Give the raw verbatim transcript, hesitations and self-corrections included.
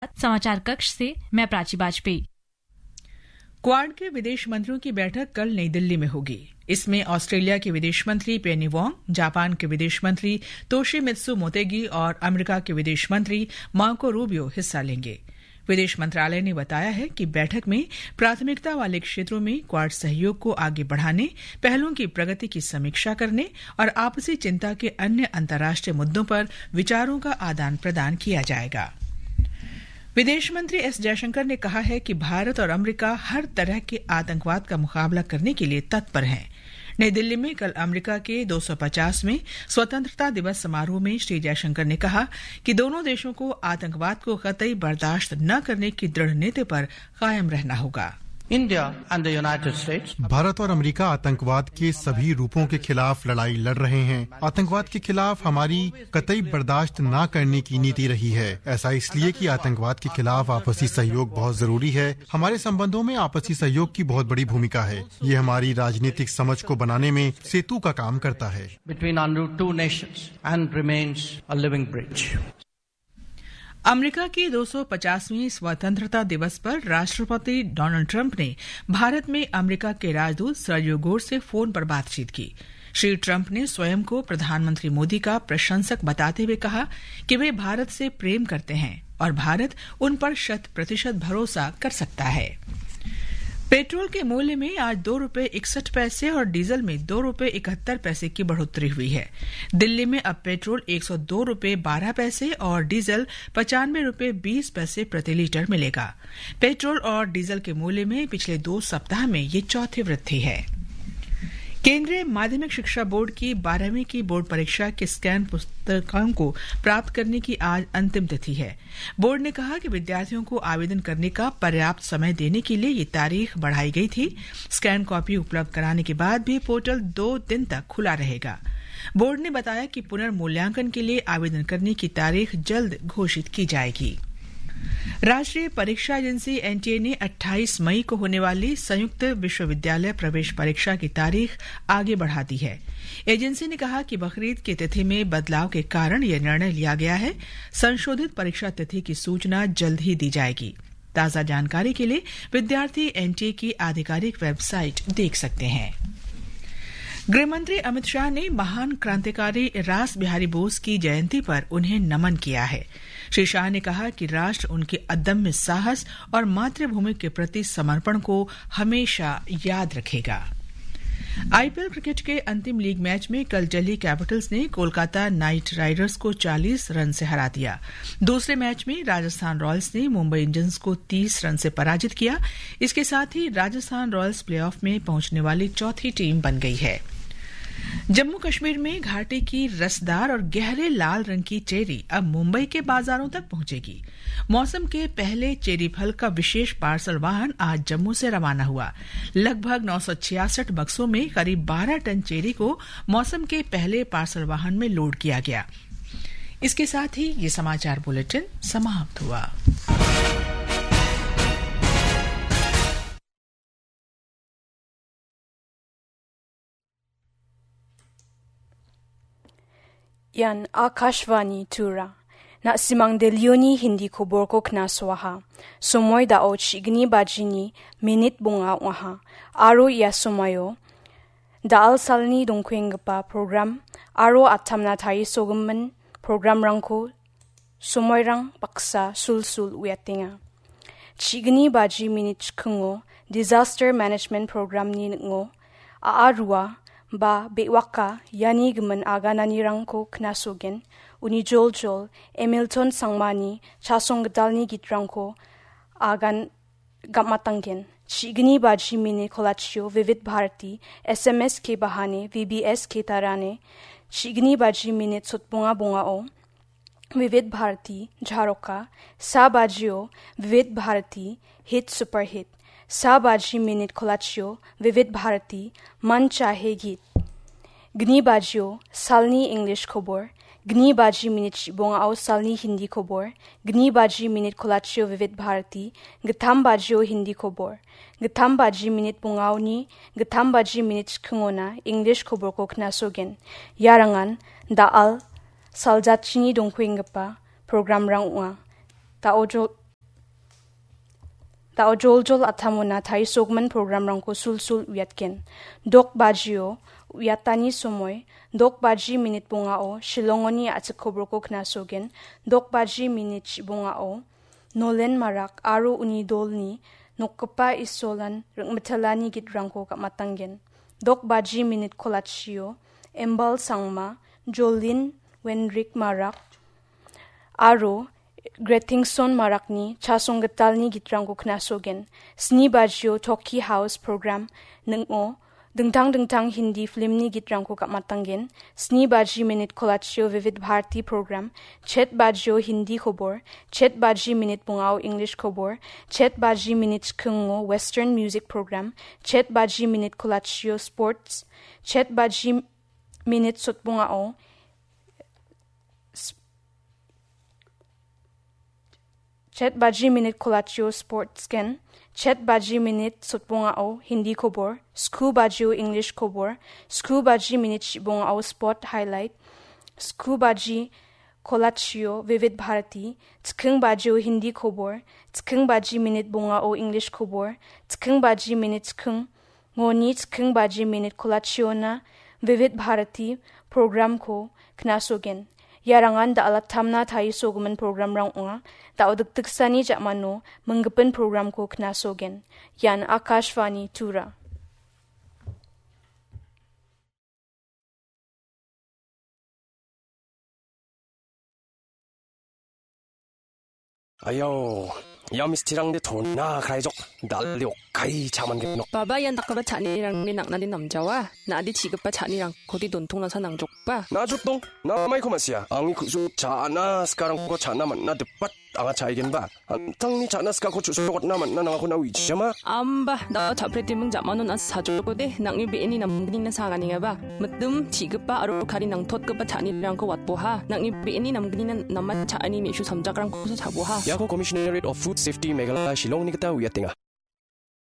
समाचार कक्ष से मैं प्राची वाजपेयी। क्वाड के विदेश मंत्रियों की बैठक कल नई दिल्ली में होगी। इसमें ऑस्ट्रेलिया के विदेश मंत्री पेनी वोंग, जापान के विदेश मंत्री तोशिमित्सु मोतेगी और अमेरिका के विदेश मंत्री मार्को रूबियो हिस्सा लेंगे। विदेश मंत्रालय ने बताया है कि बैठक में प्राथमिकता वाले क्षेत्रों में क्वाड सहयोग को आगे बढ़ाने, पहलों की प्रगति की समीक्षा करने और आपसी चिंता के अन्य अंतर्राष्ट्रीय मुद्दों पर विचारों का आदान प्रदान किया जाएगा। विदेश मंत्री एस जयशंकर ने कहा है कि भारत और अमेरिका हर तरह के आतंकवाद का मुकाबला करने के लिए तत्पर हैं। नई दिल्ली में कल अमेरिका के दो सौ पचासवें स्वतंत्रता दिवस समारोह में श्री जयशंकर ने कहा कि दोनों देशों को आतंकवाद को कतई बर्दाश्त न करने की दृढ़ नीति पर कायम रहना होगा। India and the United States. Bharat और अमेरिका आतंकवाद के सभी रूपों के खिलाफ लड़ाई लड़ रहे हैं। आतंकवाद के खिलाफ हमारी कतई बर्दाश्त ना करने की नीति रही है। ऐसा इसलिए कि आतंकवाद के खिलाफ आपसी सहयोग बहुत जरूरी है। हमारे संबंधों में आपसी सहयोग की बहुत बड़ी भूमिका है। ये हमारी राजनीतिक समझ को बनाने में सेतु का काम करता है। Between our two nations and remains a living bridge. America के दो सौ पचासवें स्वतंत्रता दिवस पर राष्ट्रपति डोनाल्ड ट्रंप ने भारत में अमेरिका के राजदूत सर्जियो गोर से फोन पर बातचीत की। श्री ट्रंप ने स्वयं को प्रधानमंत्री मोदी का प्रशंसक बताते हुए कहा कि वे भारत से प्रेम करते हैं और भारत उन पर शत प्रतिशत भरोसा कर सकता है। पेट्रोल के मूल्य में आज दो रुपये इकसठ पैसे और डीजल में दो रुपये इकहत्तर पैसे की बढ़ोतरी हुई है। दिल्ली में अब पेट्रोल एक सौ दो रुपये बारह पैसे और डीजल पचानवे रुपये बीस पैसे प्रति लीटर मिलेगा। पेट्रोल और डीजल के मूल्य में पिछले दो सप्ताह में ये चौथी वृद्धि है। केंद्रीय माध्यमिक शिक्षा बोर्ड की बारहवीं की बोर्ड परीक्षा के स्कैन पुस्तकांक को प्राप्त करने की आज अंतिम तिथि है। बोर्ड ने कहा कि विद्यार्थियों को आवेदन करने का पर्याप्त समय देने के लिए ये तारीख बढ़ाई गई थी। स्कैन कॉपी उपलब्ध कराने के बाद भी पोर्टल दो दिन तक खुला रहेगा। बोर्ड ने बताया कि पुनर्मूल्यांकन के लिए आवेदन करने की तारीख जल्द घोषित की जाएगी। राष्ट्रीय परीक्षा एजेंसी, एनटीए, ने अट्ठाईस मई को होने वाली संयुक्त विश्वविद्यालय प्रवेश परीक्षा की तारीख आगे बढ़ा दी है। एजेंसी ने कहा कि बकरीद की तिथि में बदलाव के कारण यह निर्णय लिया गया है। संशोधित परीक्षा तिथि की सूचना जल्द ही दी जाएगी। ताज़ा जानकारी के लिए विद्यार्थी एनटीए की आधिकारिक वेबसाइट देख सकते हैं। गृह मंत्री अमित शाह ने महान क्रांतिकारी रास बिहारी बोस की जयंती पर उन्हें नमन किया है। श्री शाह ने कहा कि राष्ट्र उनके अदम्य साहस और मातृभूमि के प्रति समर्पण को हमेशा याद रखेगा। आईपीएल क्रिकेट के अंतिम लीग मैच में कल दिल्ली कैपिटल्स ने कोलकाता नाइट राइडर्स को चालीस रन से हरा दिया। दूसरे मैच में राजस्थान रॉयल्स ने मुंबई इंडियंस को तीस रन से पराजित किया। इसके साथ ही राजस्थान रॉयल्स प्लेऑफ में पहुंचने वाली चौथी टीम बन गई है। जम्मू कश्मीर में घाटी की रसदार और गहरे लाल रंग की चेरी अब मुंबई के बाजारों तक पहुंचेगी। मौसम के पहले चेरी फल का विशेष पार्सल वाहन आज जम्मू से रवाना हुआ। लगभग नौ सौ छियासठ बक्सों में करीब बारह टन चेरी को मौसम के पहले पार्सल वाहन में लोड किया गया। इसके साथ ही ये समाचार बुलेटिन समाप्त हुआ। Ian Akashvani Tura. Na·simang Delhioni Hindi koborko knasoaha. Somoi dao chigni bajini minit bonga oaha. Aro ia somoio da·al salni dongkuenggipa program aro atamna tarisogimin programrangko somoirang baksa sulsul uiatenga. Chigni baji minit chikingo Disaster Management Programni ning·o a·a rua ba be·waka iani gimin agananirangko knasogen, uni joljol Emilton Sangmani chasong gitalni gitrangko agan gam·atanggen. Chigni baji minit kolachio Vivid Bharati, S M S ke bahane, V B S ke tarane, chigni baji minit sotbonga bongao, Vivid Bharati, Jharoka, sa bajio, Vivid Bharati, Hit Super Hit, sa baji minit kolachio, Vivid Bharati, Man Chahe Geet. Gni bajio, salni English kobor, gni baji minit bongao salni Hindi kobor, gni baji minit kolachio Vivid Bharati, gittam bajio Hindi kobor, gittam baji minit bongaoni, gittam baji minit chikingona English koborko knasogen. Iarangan da·al saljachini dongkuenggipa programrang ong·a. Da·o jo-, Da·o joljol a·tamona tarisogimin programrangko sulsul uiatgen. Dok bajio uiatani somoi, dok baji minit bongao Shillongoni a·chik koborko knasogen. Dok baji minit bongao Nolen Marak aro uni dolni nokgipa Isolan ring·mitelani gitrangko gam·atanggen. Dok baji minit kolachio Embal Sangma, Jolin Wenrik Marak aro Gretingson Marakni chasonggitalni gitrangko knasogen. Sni bajio Toki House program ning·o dingtang dingtang Hindi filmni gitrangko gam·atanggen. Sni baji minit kolachio Vivid Bharati program, chet bajio Hindi kobor, chet baji minit bongao English kobor, chet baji minit chikingo Western music program, chet baji minit kolachio sports, chet baji minit sotbongao s-, chet baji minit kolachio sports gen, chet baji minit sotbongao Hindi kobor, sku bajio English kobor, sku baji minit shibongao sport highlight, sku baji kolachio Vivid Bharati, chiking bajio Hindi kobor, chiking baji minit bongao English kobor, chiking baji minit chiking ngoni chiking baji minit kolachiona Vivid Bharati programko knasogen. Iarangan da·alattamna tarisogimin programrang ong·a. Da·o dikdiksani ja·mano minggipin programko knasogen. Ian Akashvani Tura. Ayo, ia mistirangde tona kraijok, dal·e okai cha·man genok. Baba, ian dakgipa cha·anirangni nang·nade namjawa. Na·ade chi·gipa cha·nirangkode dontongnasa nangjokba. Na·a jotdong, na·a maiko ma·sia. Angni ku·su cha·na sikarangko cha·na man·na dipat anga cha·aigenba. An·tangni cha·na sikako chu·srokotna man·na nangako na·o ijama. Amba, da·o cha·pretiming ja·mano na·a sajokode, nang·ni be·eni namgnina sanganengaba. Mitim, chi·gipa aro kari nangtotgipa cha·anirangko watboha. Nang·ni be·eni namgnina namen cha·ani me·su samjakrangkosa cha·boha. Iako Commissionerate of Food Safety Meghalaya Shillongni gita uiatenga.